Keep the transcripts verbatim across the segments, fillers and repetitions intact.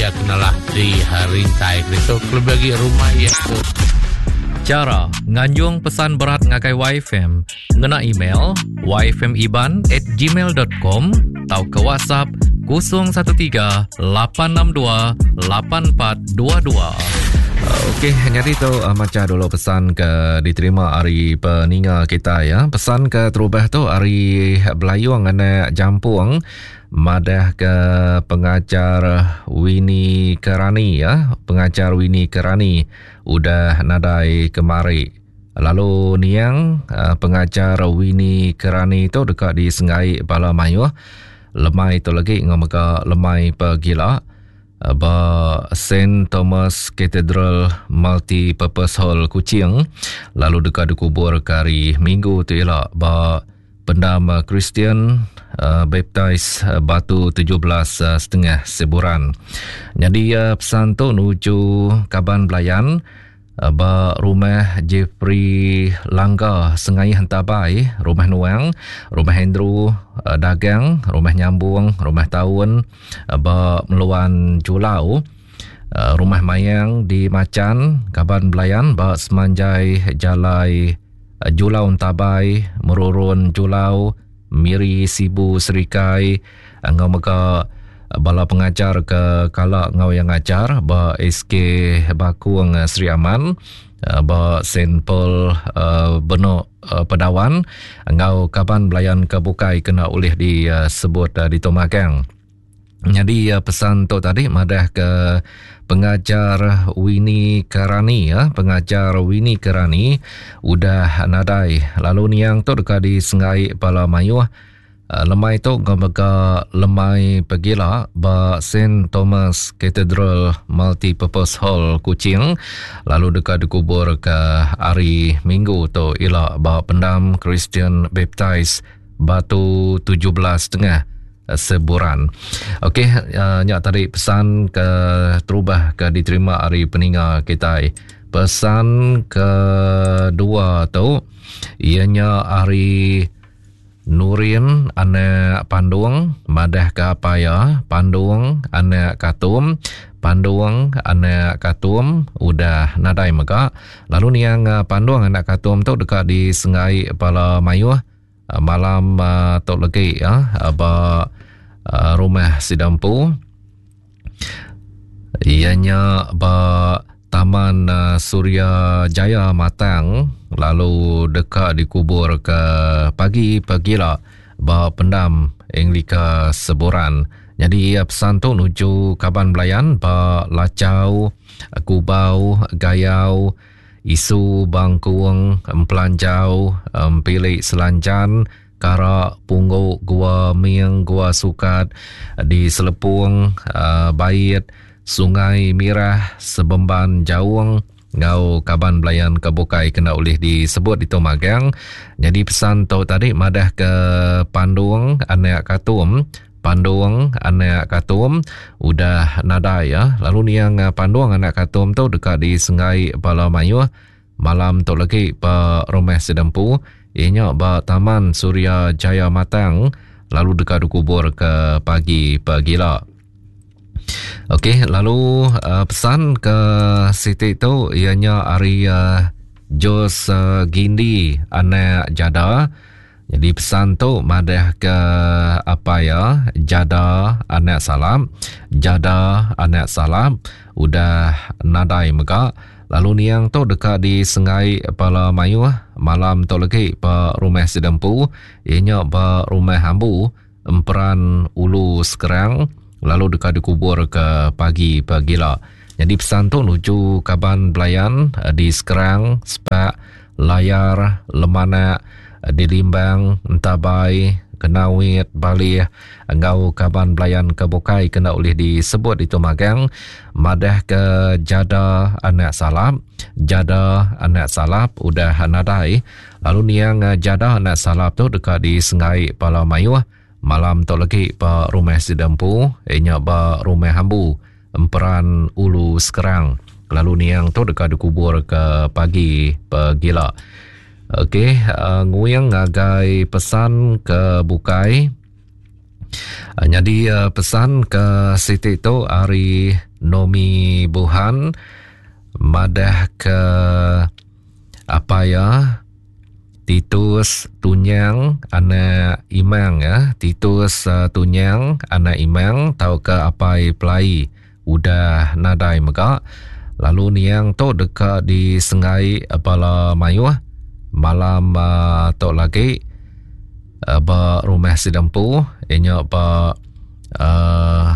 iya kenalah di rintai itu kelebih lagi rumah iya tu. Chara nganjung pesan berat ngagai Y F M ngena email y f m iban at gmail dot com tau ke WhatsApp kosong satu tiga lapan enam dua lapan empat dua dua. Okey, jadi tu uh, maca dulu pesan ke diterima hari peninga kita ya. Pesan ke terubah tu hari Belayung anak Jampung madah ke pengajar Winnie Kerani ya. Pengajar Winnie Kerani udah nadai kemari. Lalu niang uh, pengajar Winnie Kerani tu dekat di Sengai Bala Mayuh. Lemai tu lagi ngomega lemai pegila ba Saint Thomas Cathedral Multi-Purpose Hall Kuching, lalu dekat dikubur ke hari Minggu tu ialah ba Pendam Kristian uh, Baptist uh, Batu tujuh belas uh, setengah Seburan. Jadi uh, pesan tu nuju kaban belayan uh, ba rumah Jeffrey Langga Sengai Hentabai, rumah Nuang, rumah Andrew uh, Dagang, rumah Nyambung, rumah Taun uh, ba Meluan Julau, uh, rumah Mayang di Macan, kaban belayan ba Semanjai Jalai uh, Julau Entabai, Merurun Julau, Miri Sibu Serikai, ngau mega bala pengajar ke kala ngau yang ngajar ba S K Bakung Sri Aman, ba Saint Paul uh, Benok uh, Pedawan, ngau kaban belayan ke bukai kena oleh disebut uh, di Tomagang. Jadi uh, pesan tu tadi madah ke pengajar Winnie Kerani ya, pengajar Winnie Kerani udah nadai. Lalu niang tu dekat di Sengai Bala Mayuh. Uh, lemai tu ngomega lemai pegila ba Saint Thomas Cathedral Multi-Purpose Hall Kuching, lalu dekat dikubur ke hari Minggu tu ila ba Pendam Christian Baptist Batu tujuh belas setengah Seburan. Okey, uh, nyak tadi pesan ke terubah ke diterima hari peninga kita. Pesan kedua tu ianya hari Nurin anak Pandung madah ke apa ya Pandung anak Katum, Pandung anak Katum udah nadai mega. Lalu niang Pandung anak Katum tu dekat di Sengai Bala Mayuh malam uh, tok legi ya ba uh, rumah Sidampu. Ianya ba Taman uh, Surya Jaya Matang, lalu dekat dikubur ke pagi pagila ba Pendam Anglika Seburan. Jadi pesan tu nuju kaban belayan ba Lacau, Kubau, Gayau, Isu Bangkuang, Empelanjau, Empilik Selanjan, Karak, Pungguk, Gua Ming, Gua Sukat, di Selepung, uh, Bait, Sungai Mirah, Sebemban Jaung, ngau kaban belayan kebukai kena oleh disebut di Tomagang. Jadi pesan tu tadi madah ke Pandung anak Katum, Pandung anak Katum udah nadai ya. Lalu niang Pandung anak Katum tu dekat di Sengai Bala Mayuh malam tu lagi ba rumah Sedempu, ianya ba Taman Surya Jaya Matang, lalu dekat dikubur ke pagi pagila. Okey, lalu uh, pesan ke Siti tu ianya hari uh, Jos uh, Gindi anak Jada. Jadi pesan tu madah ke apa ya Jada anak Salam, Jada anak Salam udah nadai mega. Lalu niang tu dekat di Sengai Bala Mayuh malam tu lagi ba rumah Sidempu, ianya ba rumah Ambu Emperan Ulu Sekerang, lalu dekat dikubur ke pagi pagila. Jadi pesan tu nuju kaban belayan di Sekerang, Sepak, Layar, Lemanak, di Limbang, Entabai, Kenawit, Balih, engau kaban belayan ke Bukai kena oleh disebut itu magang madah ke Jada anak Salap, Jada anak Salap udah nadai. Lalu niang Jada anak Salap tu dekat di Sengai Bala Mayuh malam tu lagi ba rumah Sidempu, ianya ba rumah Hambu Emperan Ulu Sekerang. Lalu niang tu dekat dikubur ke pagi pegila. Okey, uh, nguyang ngagai pesan ke bukai. Jadi pesan ke siti tu hari Nomi Buhan madah ke apa ya Titus Tunyang anak Imang ya, Titus uh, Tunyang anak Imang tau ke apai pelai udah nadai mega. Lalu niang tu dekat di Sengai Bala Mayuh malam uh, tu lagi uh, ba rumah Sidempu inya ba uh,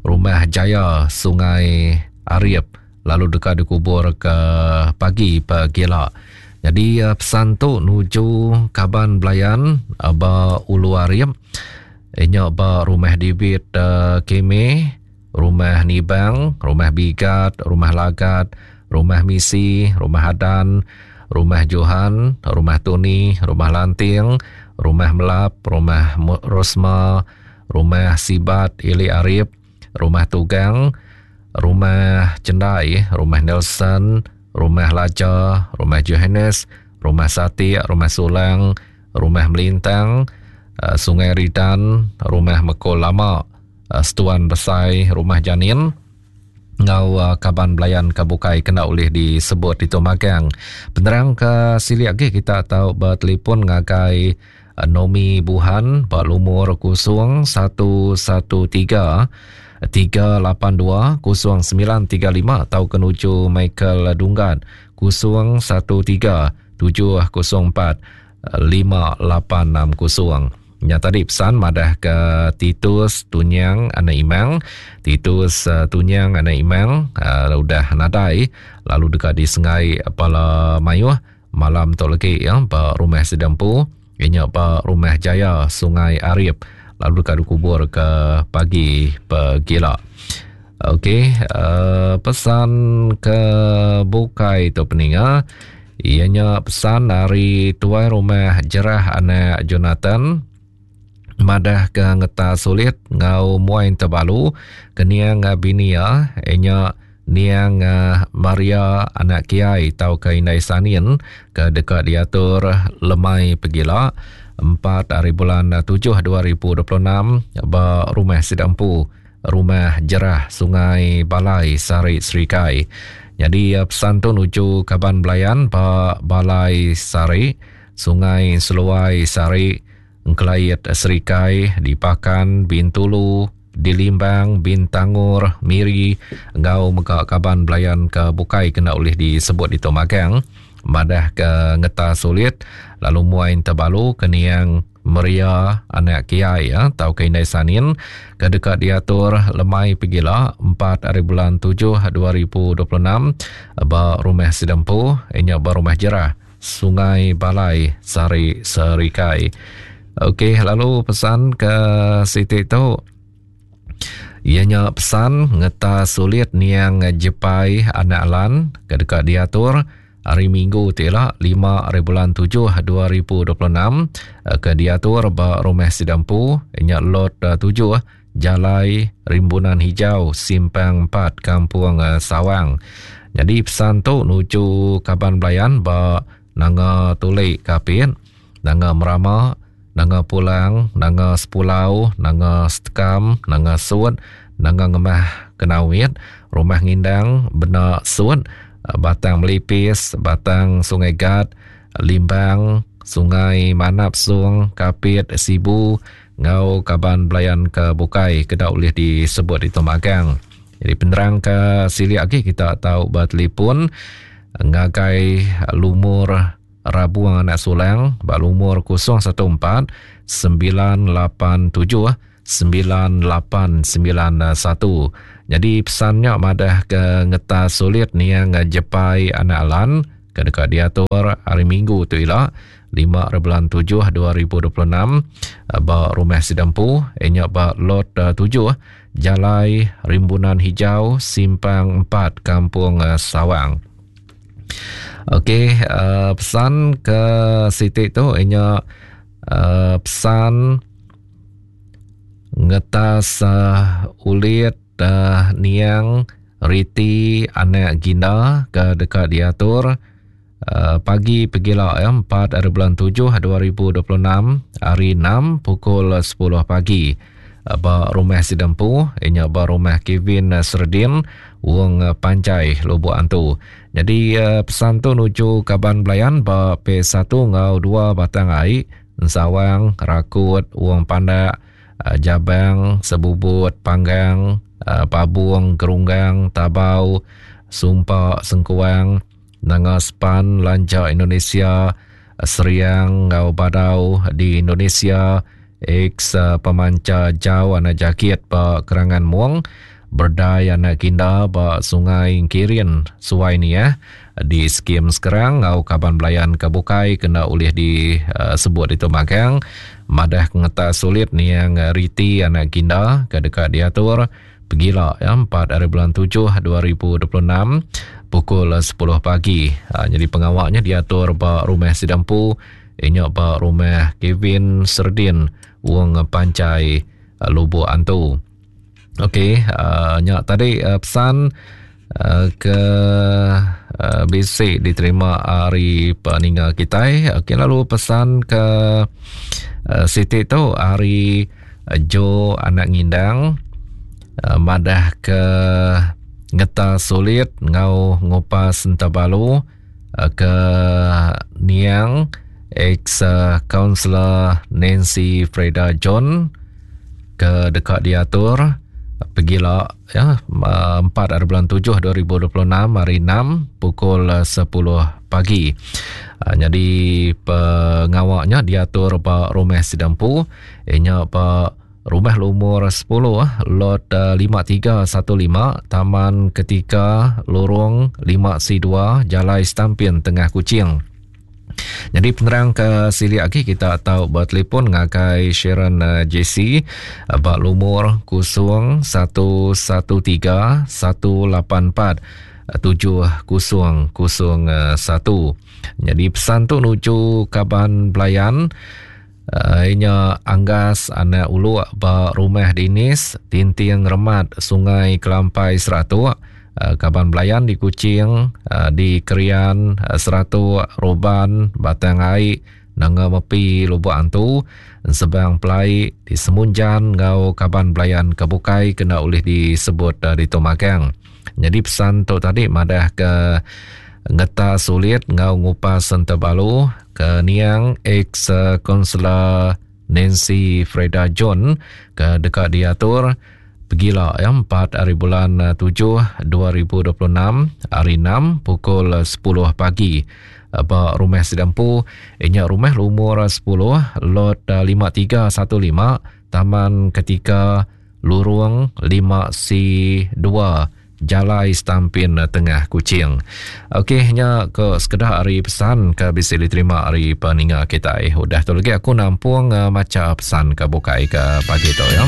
rumah Jaya Sungai Arif, lalu dekat dikubur ke pagi pegila. Jadi uh, pesan tu nuju kaban belayan uh, ba Ulu Arif inya ba rumah Dibit uh, Keme, rumah Nibang, rumah Bigat, rumah Lagat, rumah Misi, rumah Hadan, rumah Johan, rumah Tuni, rumah Lanting, rumah Melap, rumah Rosma, rumah Sibat Ili Arif, rumah Tugang, rumah Cendai, rumah Nelson, rumah Laja, rumah Johannes, rumah Satik, rumah Sulang, rumah Melintang, Sungai Ridan, rumah Mekol Lama, Setuan Besai, rumah Janin, ngau kaban belayan kabukai kena oleh disebut itu magang. Penerang ke sili lagi kita tahu bertelefon ngagai Nomi Buhan ba lumur kosong satu satu tiga tiga lapan dua kosong sembilan tiga lima atau kenuju Michael Dunggan kosong satu tiga tujuh kosong empat lima lapan enam kosong. Nya tadi pesan madah ke Titus Tunyang anak Imang, Titus uh, Tunyang anak Imang uh, udah nadai lalu dekat di Sengai Pala Mayuh malam tu lagi ya ba rumah Sidempu inya ba rumah Jaya Sungai Arif, lalu dekat dikubur ke pagi pegila. Okey, uh, pesan ke bukai tu peninga ianya pesan dari tuai rumah Jerah anak Jonathan madah ke ngeta sulit ngau muai terbalu keniang binia inya niang Maria anak Kiai tau ke Indai Sanin ke dekat diatur lemai pegila empat hari bulan tujuh dua ribu dua puluh enam ba rumah Sidampu, rumah Jerah Sungai Balai Sari Serikai. Jadi pesan tu nuju kaban belayan ba Balai Sari, Sungai Seluai Sari, Engkelait Serikai, di Pakan, Bintulu, di Limbang, Bintangor, Miri, ngau mega kaban belayan ke bukai kena oleh disebut di Tomagang. Madah ke ngeta sulit lalu muai terbalu ke niang Maria anak Kiai ya tau ke Indai Sanin ke dekat diatur lemai pegila empat hari bulan tujuh dua ribu dua puluh enam ba rumah Sidempu inya ba rumah Jerah Sungai Balai Sari Serikai. Okey, lalu pesan ke siti tu ianya pesan ngeta sulit niang Jepai anak Lan ke dekat diatur hari Minggu tila lima hari bulan tujuh dua ribu dua puluh enam ke diatur ba rumah Sidampu inya lot tujuh Jalai Rimbunan Hijau Simpang empat Kampung Sawang. Jadi pesan tu nuju kaban belayan ba Nanga Tulik Kapit, Nanga Merama, Nanga Pulang, Nanga Sepulau, Nanga Setekam, Nanga Sud, Nanga Ngemah Kenawit, Rumah Ngindang, Benak Sud, Batang Melipis, Batang Sungai Gat, Limbang, Sungai Manap Sung, Kapit, Sibu, ngau kaban belayan ke bukai kedak boleh disebut di Tomagang. Jadi penerang ke sili lagi kita tahu bertelefon ngagai lumur Rabuang anak Sulang bak lumur kosong satu empat sembilan lapan tujuh sembilan lapan sembilan satu. Jadi pesannya madah ke ngeta sulit niang Jepai anak Alan ke dekat diatur hari Minggu tu ila lima bulan tujuh dua ribu dua puluh enam ba rumah Sidampu inya ba lot tujuh Jalai Rimbunan Hijau Simpang empat Kampung Sawang. Okey, uh, pesan ke siti tu inya uh, pesan ngetas uh, ulit uh, niang Riti anak Gina ke dekat diatur uh, pagi pegila ya, empat hari bulan tujuh dua ribu dua puluh enam hari enam pukul sepuluh pagi. ba rumah Sidempu inya ba rumah Kevin Serdin Wong Panjai Lubuk Antu. Jadi pesan tu nuju kaban belayan ba P satu ngau dua Batang Ai, Ensawang, Rakut, Wong Pandak, Jabang, Sebubut, Panggang, Pabung, Gerunggang, Tabau, Sumpa, Sengkuang, Nanga Sepan, Lanja Indonesia, Seriang ngau Badau di Indonesia, ex pemanca jauh anak jakit ba Kerangan Muang, Berdai anak Kinda ba Sungai Kirin Suai ni ya di skim sekarang ngau kaban belayan ke bukai kena ulih disebut itu magang madah ngeta sulit ni yang riti anak Kinda ke dekat diatur pergila ya empat hari bulan tujuh dua ribu dua puluh enam pukul sepuluh pagi. Ha, jadi pengawaknya diatur ba rumah Sidampu inyok ba rumah Kevin Serdin Wong Pancai Lubuk Antu. Okey, uh, nyak tadi uh, pesan uh, ke uh, bisi diterima hari peninga kita. Okey, lalu pesan ke uh, Siti tu hari uh, Jo anak ngindang uh, madah ke ngeta sulit ngau ngupas entabalu uh, ke niang ex kaunselor Nancy Freda John ke dekat diatur pergila ya empat hari bulan tujuh dua ribu dua puluh enam hari enam pukul sepuluh pagi. Ha, jadi pengawaknya diatur ba rumah Sidampu inya ba rumah lumur sepuluh lot lima tiga satu lima Taman Ketika Lorong lima C dua Jalai Stampin Tengah Kuching. Jadi penerang ke sili lagi kita tahu bertelefon ngagai Sharon uh, J C bak lumur kosong satu satu tiga satu lapan empat tujuh kosong kosong satu. Jadi pesan tu nuju kaban belayan uh, inya Anggas anak uluk bak rumah Dinis Tinting Remat Sungai Kelampai Seratuk. Kaban belayan di Kuching, di Kerian, Seratuk, Roban, Batang Ai, Nanga Mepi, Lubuk Antu, Sebang Pelai, di Semunjan, ngau kaban belayan kebukai kena oleh disebut di Tomagang. Jadi pesan tu tadi madah ke ngeta sulit ngau ngupas sentabalu ke niang ex kaunselor Nancy Freda John ke dekat diatur pergila ya empat hari bulan tujuh dua ribu dua puluh enam hari enam pukul sepuluh pagi ba rumah Sidampu inya rumah lumur sepuluh lot lima tiga satu lima Taman Ketika Lurung lima C dua Jalai Stampin Tengah Kuching. Okey, nya ke sekedah hari pesan ke bisa diterima hari peninga kita. Eh, udah tu lagi aku nampung uh, maca pesan ke bukai ke pagi tu ya.